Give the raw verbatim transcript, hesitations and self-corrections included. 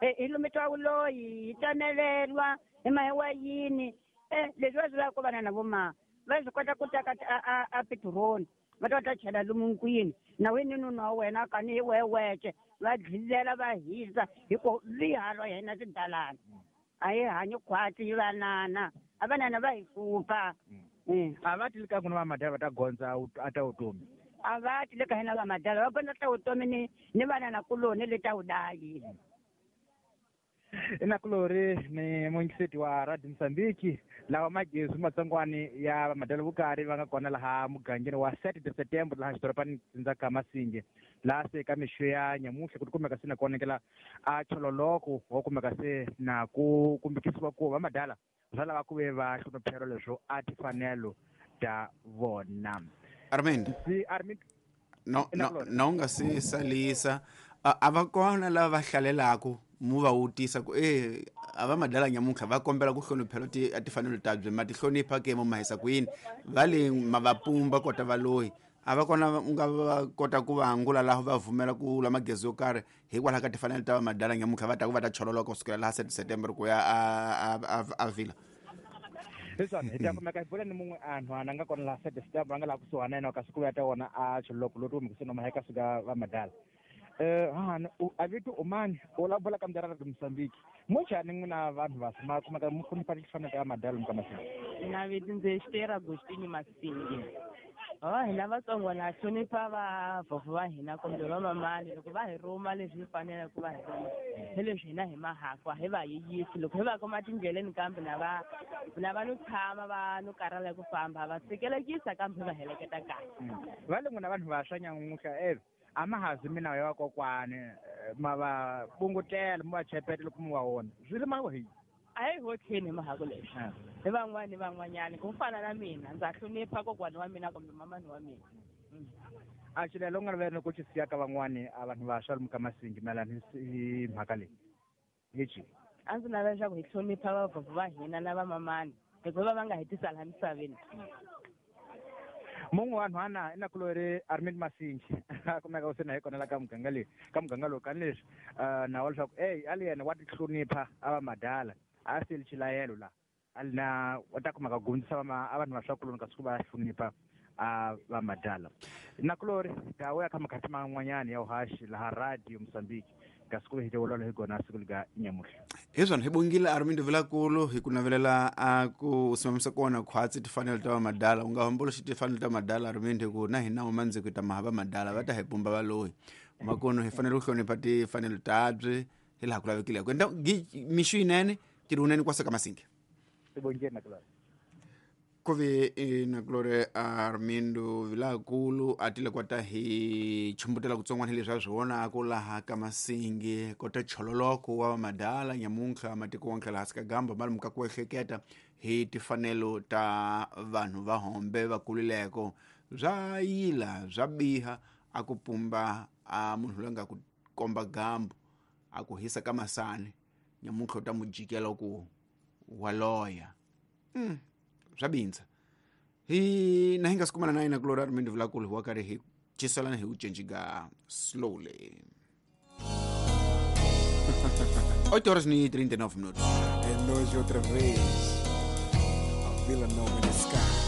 Hi lumetiwa vuloyi, hi tsameleriwa, hi mahiwa yini. Eh, leswi va swi lavaka ku vana na vo ma va swi kota ku teka a a a petiroli va ta va ta chela lomu nkwini na wini nuna wa wena kani hi wehe wexe va dlilela va hisa hi ku vihalo ya hina swidalana a hi hanyi khwatsi hi vanana a vanana va hi hlupha. A va ti ka n'wina va madala va ta gondza a ta vutomi? A va ti le ka hina va madala va gondza ta vutomi ni ni vanana kuloni le ta vudayi. Inakulori ni muingiseti wa Radio Mozambique lawa magezi matsongwani ya vamadala vukari va nga kona laha mugangeni wa sete de setembro laha xidorobani Ndzaka Masinge laha se ka mixo ya nyamuhla ku tikumeka se na ku onekela a chololoko wa kumeka se na ku kumbekisiwa ku va madala swa lava ku ve va hloniphelo leswo a tifanelo ta vona. Armind si Armind no no no nga si salisa a va kona lava va hlalelaka mu va wutisa ku eh a va madala nyamuhla va kombela ku hloniphelo ti a tifanelo ta byi ma ti hlonipha ke mo mahisa ku yini va le ma va pumba kota va loyi a va kona u nga va kota ku va angula laha va vumela ku la magezi yo karhi hikwalaho ka tifanelo ta va madala nyamuhla va ta ku va ta chololoka kusukela laha sete September ku ya a a a vila. Leswi hi ta kumeka hi bula ni mun'we a nhwana nga kona laha sete September a nga laha kusuhana na yena kasi ku ya ta wona a chololoko lowu kumbe ku se noma eka suka va madala. Eh hana a vito umani u la bula ka mdara ra Mozambique mo njhani n'wina vanhu va ma kumeka mu hlonipha tifanelo ta madala muka Masinge? Na vito ndzi Esther Agostini Masinge. Oh, hina Vatsongo na hlonipha vavhovho va hina kumbe vamamani loko va hi rhuma leswi hi faneleke ku va hi rhuma hi leswi hina hi mahakwa hi va yiyisi loko hi va kuma tindleleni kambe na va na va no tshama va no karhala ku famba va tshikelekisa kambe hi va heleketa kahle. Va le n'wina vanhu vantshwa nyamuntlha eh a ma hazi mina ya vakokwani ma va pungutela mu va chepeta loko mu va vona swi ri ma hi a hi hotlheni hi mahako leswi hi van'wani ni van'wanyani ku fana na mina ndza hlonipha kokwani wa mina kumbe mamani wa mina. A xilelo u nga lavela ku xi siya ka van'wani a vanhu vantshwa lomu ka Masingi mayelana hi mhaka leyi hi ci a ndzi navela leswaku hi hlonipha vavhovho va hina na vamamani hikuva va nga hi tisa laha misaveni. Mun'we wa nhwana i nakulori Armind Masingi a kumeka u se na hi kona la ka muganga leyi ka muganga lowu kani leswi na wa leswaku eyi a li yena wa ti hlonipha a va madala a seli xilayelo la a li na wa ta kumeka gondzisa a vanhu va swakuloni kasi ku va hlonipha a va madala. Nakulori ta ya ka makhati man'wanyana ya uhaxi laha Radio Mozambique kasi ku hi tiolola hi gona siku lika nyamuhla. Hi swona hi bongile Armind Vilakulu hi ku navelela a ku simamisa kona khwatsi tifanelo ta madala u nga homboloxi tifanelo ta madala Armind ku na hina mandziko ta mahava madala va ta hi pumba va loyi makono hi fanele ku hlonipha tifanelo tabyi hi laha ku lavekileke enda mixo yinene tirhuneni kwasa ka Masinge. Sibongile nakulori. Kuve nakulore Armindo Vilakulu a tile kwata hi chumbutela kutsongwana leswi a swi vonaka laha ka Masinge kota chololoko wa madala nyamuntlha matiko wonke laha ka gamba mali muka ku ehleketa hi tifanelo ta vanhu va hombe va kulileko bya yila bya biha a ku pumba a munhu loyi nga ku komba gambu a ku hisa ka masani nyamuntlha u ta mu jikela ku wa loya. Mm. Swa bindza hi na hi nga si kumana na yena kulori Armind Vilakulu wa karhi hi ciselana hi ku cinca slowly. oito horas e trinta e nove minutos. É nós outra vez. A Vila Nova in the sky.